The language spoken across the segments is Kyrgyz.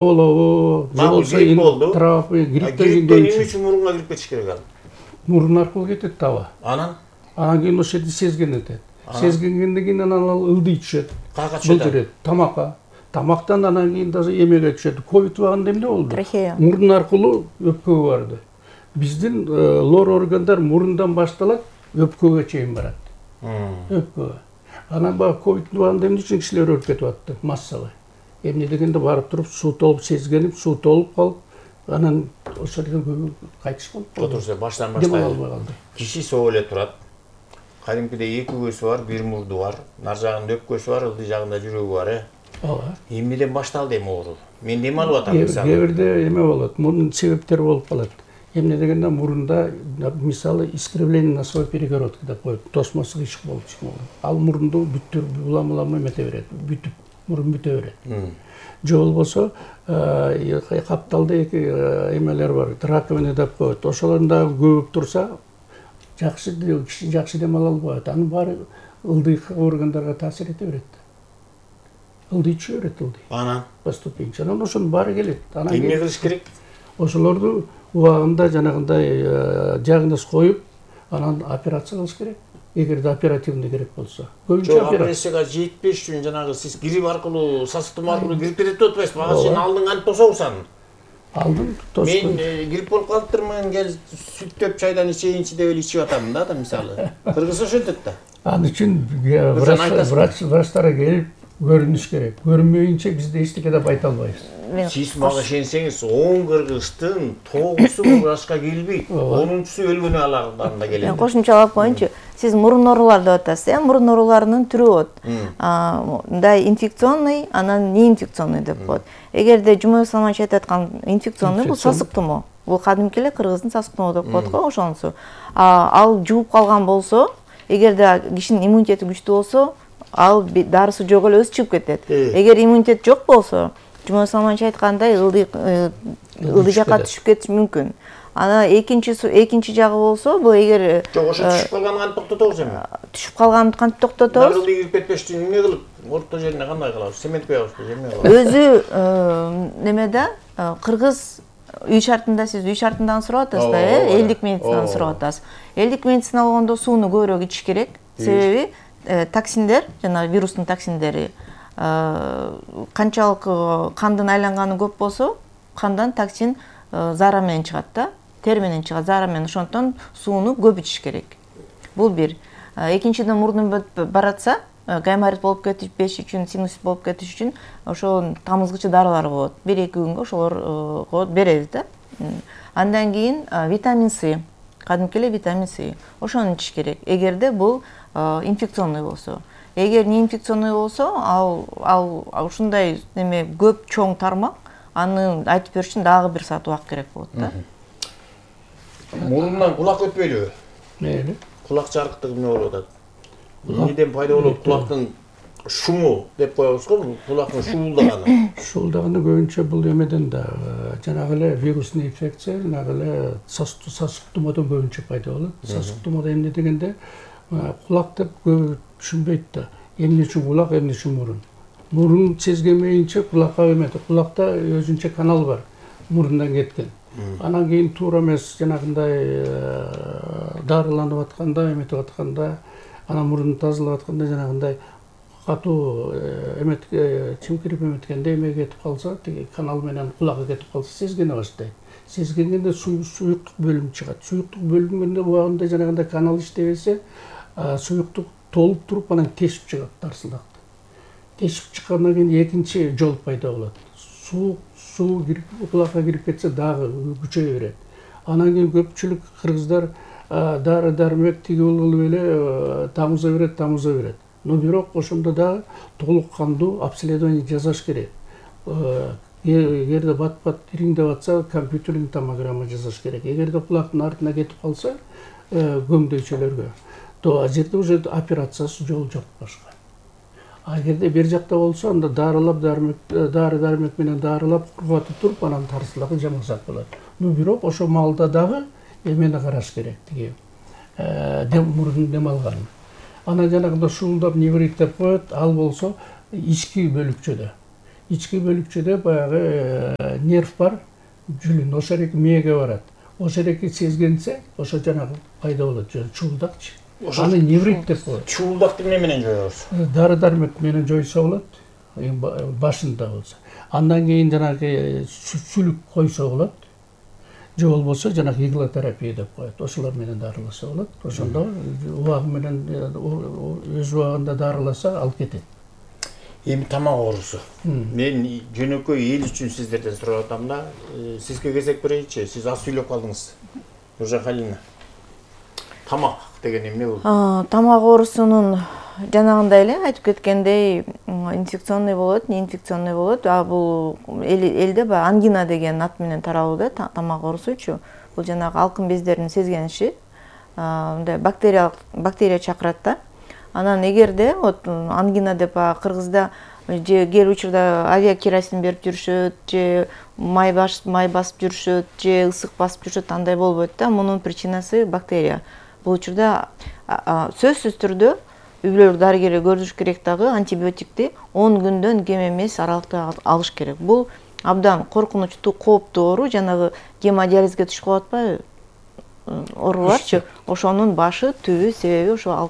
болобу, же болсо травмы, грипптен эмне үчүн мурунга кирип кетиш керек ал? Мурун аркылуу кетет таба. Анан кийин ошол жерде сезген этет. Сезгенден кийин анан ал ылдый түшөт. Каяка түшөт? Былдырет тамакка. Тамактан анан кийин даже эмеге түшөт. Ковид убагында эмне болду? Трахея. Мурун аркылуу өпкөгө барды. Биздин лор органдар мурундан башталат, өпкөгө чейин барат. Өпкөгө. Анан баягы ковид убагында эмне үчүн кишилер өлүп кетип атты массалык? Эмне дегенде барып туруп суу толуп сезгенип, суу толуп калып, анан ошол жерден көбү кайтыш болуп калды. Отурса баштан баштайлы. Киши соо эле турат. Кадимкидей эки көзү бар, бир мурду бар. Нар жагында өпкөсү бар, ылдый жагында жүрөгү бар, Ооба. Эмнеден башталды эми оору? Мен эме алып атам мисалы. Кээ бирде эме болот. Мунун себептери болуп калат. Эмне дегенде мурунда мисалы искривление носовой перегородки деп коет. Тосмо сыгыш болуп чыгат. Ал мурунду бүттүрүп улам эмете берет. Бүтүп мурун бүтө берет. Же болбосо капталда эки эмелер бар. Раковина деп коет. Ошолордун дагы көбүп турса, киши жакшы дем ала албайт. Анын баары ылдый органдарга таасир эте берет. Ылдый түшө берет, ылдый. Анан Поступинче. Анан ошонун баары келет. Анан эмне кылыш керек? Ошолорду убагында жанагындай диагноз коюп, анан операция кылыш керек. Эгерде оперативный керек болсо. Көбүнчө операцияга жетпеш үчүн жанагы сиз грипп аркылуу, сасык тумоо аркылуу кирип кетет деп атпайсызбы? Ага сен алдың кантип тособуз? Алдым тостум. Мен грипп болуп калыптырмын, кел сүттөп чайдан ичейинчи деп эле ичип атамын да мисалы. Кыргыз ошентет да. Ал үчүн врачтар келип көрүнүш керек. Көрүнмөйүнчө бизде эчтеке деп айта албайбыз. Сиз мага ишенсеңиз, 10 кыргыздын 9су врачка келбейт, 10-су өлгөнү алардан да келет. Мен кошумчалап коеюнчу. Сиз мурун оорулар деп атасыз, мурун ооруларынын түрү болот. Мындай инфекционный, анан неинфекционный деп коет. Эгерде Жумабек Салманович айтып аткан инфекционный бул сасык тумоо. Бул кадимки эле кыргыздын сасык тумоо деп коет го ошонусу. Ал жугуп калган болсо, эгерде кишинин иммунитети күчтүү болсо, ал дарысы жок эле өзү чыгып кетет. Эгер иммунитет жок болсо, Жумабек Салманович айткандай ылдый жакка түшүп кетиш мүмкүн. Ана экинчи жагы болсо, бул эгер жок, ошо түшүп калганын кантип токтотобуз эми? Түшүп калганын кантип токтотобуз? Ылдый кирип кетпеш үчүн эмне кылып, орто жерине кандай кылабыз? Цемент куябызбы, эмне кылабыз? Өзү немеде кыргыз үй шартында, сиз үй шартындан сурап атасыз да, элдик медицинаны сурап атасыз. Элдик медицина болгондо сууну көбүрөөк ичиш керек. Себеби токсиндер, жана вирустун токсиндери канчалык кандын айланганы көп болсо, кандан токсин заара менен чыгат да, тер менен чыгат, заара менен. Ошондон сууну көп ичиш керек. Бул бир. Экинчиден мурдун баратса, гайморит болуп кетиш үчүн, синусит болуп кетиш үчүн ошо тамызгычы дарылар болот. 1-2 күнгө ошолорго беребиз да. Андан кийин витамин С, кадимки эле витамин С. Ошону ичиш керек. Эгерде бул инфекционный болсо. Эгер неинфекционный болсо, ал ушундай неме көп чоң тармак, аны айтып бериш үчүн дагы 1 саат убакыт керек болот да. Мурундан кулак өтпөйлүбү? Мейли. Кулак жарыктыгы эмне болуп атат? Эмнеден пайда болот? Кулактын шуму деп коебуз го, кулактын шуулдаганы. Шуулдаганы көбүнчө бул эмеден да жанагы эле вирусный инфекция, жанагы эле сасык тумоодон көбүнчө пайда болот. Сасык тумоодо эмне дегенде кулак деп көбү түшүнбөйт да. Эмне үчүн кулак, эмне үчүн мурун? Мурун сезгенмейинче кулакка эметет. Кулакта өзүнчө канал бар, мурундан кеткен. Анан кийин туура эмес жанагындай дарыланып атканда, эметип атканда, анан мурунду тазалап атканда жанагындай катуу чимкирип эметкенде эме кетип калса, тиги канал менен кулагы кетип калса сезгене баштайт. Сезгенгенде суюктук бөлүм чыгат. Суюктук бөлүнгөндө убагында жанагындай канал иштебесе, суюктук толуп туруп анан тешип чыгат дарсылдакты. Тешип чыккандан кийин экинчи жол пайда болот. Суу кирип кулакка кирип кетсе дагы күчөйө берет. Анан кийин көпчүлүк кыргыздар дары дармек тиги кылып эле тамыза берет. Но бирок ошондо дагы толук кандуу обследование жасаш керек. Эгерде бат-бат ириңдеп атса, компьютерный томограмма жасаш керек. Эгерде кулактын артына кетип калса, көмдөйчөлөргө, то ал жерде уже операциясы жол жок башка. Эгерде бер жакта болсо, анда дары-дармек менен дарылап, кургатып туруп, анан тарсылыгы жамасак болот. Но бирок ошо маалда дагы эмени караш керек, тиги мурдун дем алганын. Анан жанагында шуулдап неврит деп коет, ал болсо ички бөлүкчөдө. ички бөлүкчөдө баягы нерв бар, жүлүн, ошол эреки мээге барат. Ошол эреки сезгенсе, ошо жанагы пайда болот, чуулдакчы. Аны неврит деп коет. Чуулдакты эмне менен жоебуз? Дары-дармек менен жойсо болот, башында болсо. Андан кийин жанагы сүлүк койсо болот. Же болбосо жанагы иглотерапия деп коет. Ошолор менен дарыласа болот. Ошондо убагы менен өз убагында дарыласа алып кетет. Эми тамак оорусу. Мен жөнөкөй эл үчүн сиздерден сурап атам да, сизге кезек берейинчи. Сиз аз сүйлөп калдыңыз. Нуржан Халиловна. Тамак деген эмне бул? Тамак оорусунун жанагындай эле айтып кеткендей, инфекционный болот, неинфекционный болот. Бул элде баягы ангина деген ат менен таралууда тамак оорусучу. Бул жанагы алкын бездеринин сезгениши, мындай бактерия чакырат да. Анан эгерде вот ангина деп кыргызда же кээ учурда авиакеросин берип жүрүшөт, же май басып жүрүшөт, же ысык басып жүрүшөт, андай болбойт да. Мунун причинасы бактерия. Бул учурда сөзсүз түрдө үй-бүлөлүк дарыгери көрүш керек дагы антибиотикти 10 күндөн кем эмес аралыкта алыш керек. Бул абдан коркунучтуу, кооптуу оору, жанагы гемодиализге түшүп калып атпайбы? Ооруларчы, ошонун башы, түбү, себеби ошо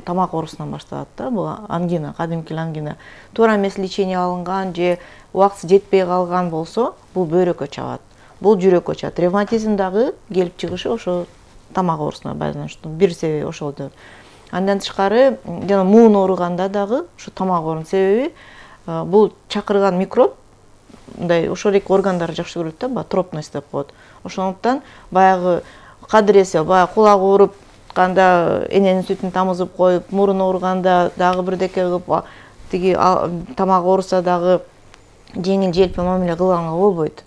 тамак оорусунан башталат да. Бул ангина, кадимки ангина. Туура эмес лечение алынган же убактысы жетпей калган болсо, бул бөйрөккө чабат. Бул жүрөккө чабат. Ревматизм дагы келип чыгышы ошо тамак оорусуна байланыштуу. Бир себеби ошол да. Андан тышкары, жана муун ооруганда дагы ушу тамак оорунун себеби бул чакырган микроб мындай ошол эки органдарды жакшы көрөт да, тропность деп коет. Ошондуктан баягы кадыресе, баягы кулак оорутканда эненин сүтүн тамызып коюп, мурун ооруганда дагы бирдеке кылып, тиги тамак ооруса дагы жеңил желпи мамиле кылганга болбойт.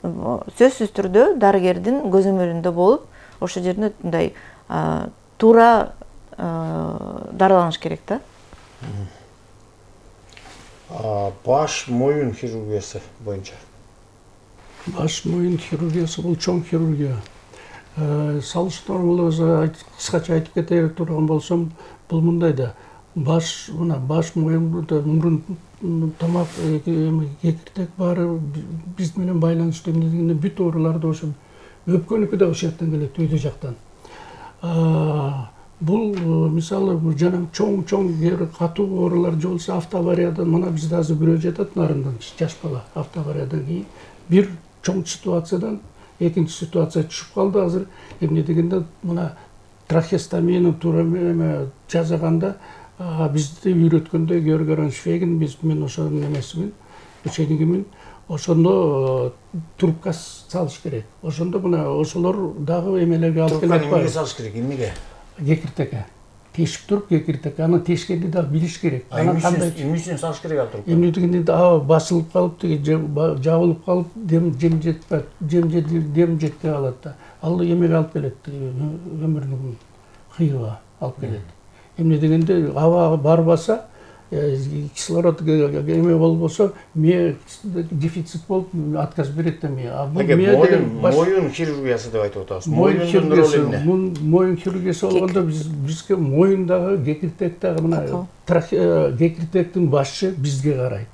Сөзсүз түрдө дарыгердин көзөмөлүндө болуп, ошол жерде мындай туура дарыланыш керек да. Баш моюн хирургиясы боюнча. Баш моюн хирургиясы бул чоң хирургия. Салыштырмалуу кыскача айтып кете турган болсом, бул мындай да. Баш моюн мурун тамак кекиртек баары биз менен байланыштуу эмне бүт ооруларды ошо өпкөнүкү да ошол жактан келет, өйдө жактан. Бул мисалы жана чоң катуу оорулар же болсо автоавариядан, мына бизде азыр бирөө жатат нарындан, жаш бала автоавариядан кийин бир чоң ситуациядан экинчи ситуация түшүп калды. Азыр эмне дегенде мына трахеостомияны туура жасаганда бизди үйрөткөндө Георг Швейгин, мен ошонун эмесимин, ученикимин, ошондо трубка салыш керек. Ошондо мына ошолор дагы эмелерге алып келет. Трубканы эмнеге салыш керек, эмнеге? Кекиртекке. Тешип туруп кекиртекке, аны тешкенди дагы билиш керек. Эмне үчүн салыш керек ал трубканы? Эмне дегенде басылып калып, жабылып калып, дем жетпей калат да. Ал эмеге алып келет, өмүрүнүн кыйыгына алып келет. Эмне дегенде аба барбаса, кислород эме болбосо, мээ дефицит болуп отказ берет да мээ. Моюн хирургиясы деп айтып атабыз. Моюндун ролу эмне? Моюн хирургиясы болгондо бизге моюндагы кекиртек дагы мына кекиртектин башы бизге карайт.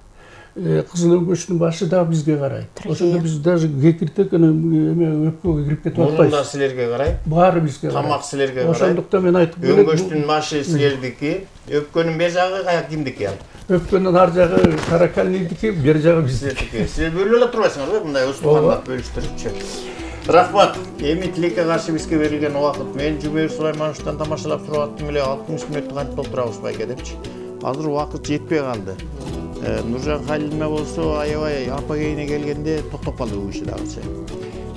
Кызыл өңгөчтүн башы дагы бизге карайт. Ошондо биз даже кекиртек эме өпкөгө кирип кетип атпайбыз. Мурун да силерге карайт. Баары бизге карайт. Тамак силерге карайт. Ошондуктан мен айтып келем. Өңгөчтүн башы силердики, өпкөнүн бер жагы кимдики ал? Өпкөнүн ар жагы таракальныйдики, бер жагы биздики. Силер бөлүп эле турбайсыңарбы, мындай устукандап бөлүштүрүпчү. Рахмат. Эми тилекке каршы бизге берилген убакыт. Мен Жумер Сулаймановичтан тамашалап туруп аттым эле 60 мүнөттү кантип толтурабыз байке депчи. Азыр убакыт жетпей калды. Нуржан Халиловна болсо аябай апогейине келгенде токтоп калды бул иши дагычы.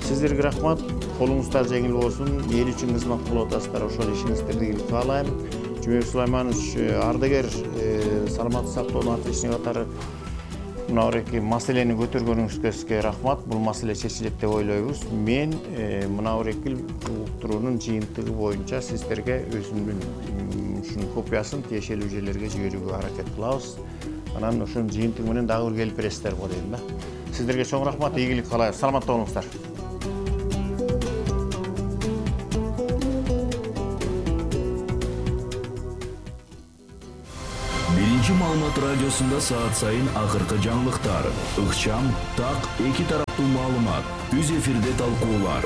Сиздерге рахмат. Колуңуздар жеңил болсун. Эл үчүн кызмат кылып атасыздар. Ошол ишиңиздерди ийгилик каалайм. Жумер Сулайманович ардагер, саламаттык сактоонун отличник катары мына эки маселени көтөргөнүңүзгө сизге рахмат. Бул маселе чечилет деп ойлойбуз. Мен мына эки уктуруунун жыйынтыгы боюнча сиздерге өзүмдүн ушунун копиясын тиешелүү жерлерге жиберүүгө аракет кылабыз. Анан ошонун жыйынтыгы менен дагы бир келип бересиздер го дейм да. Сиздерге чоң рахмат, ийгилик каалайм. Саламатта болуңуздар. Биринчи маалымат радиосунда саат сайын акыркы жаңылыктар, ыкчам, так, эки тараптуу маалымат, үз эфирде талкуулар.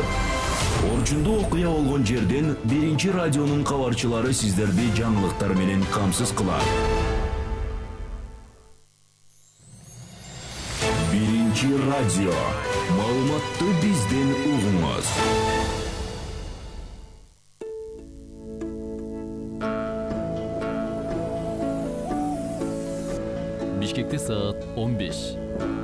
Орчундуу окуя болгон жерден биринчи радионун кабарчылары сиздерди жаңылыктар менен камсыз кылат. Биринчи радио. Маалыматты бизден угуңуз. Бишкекте саат 15.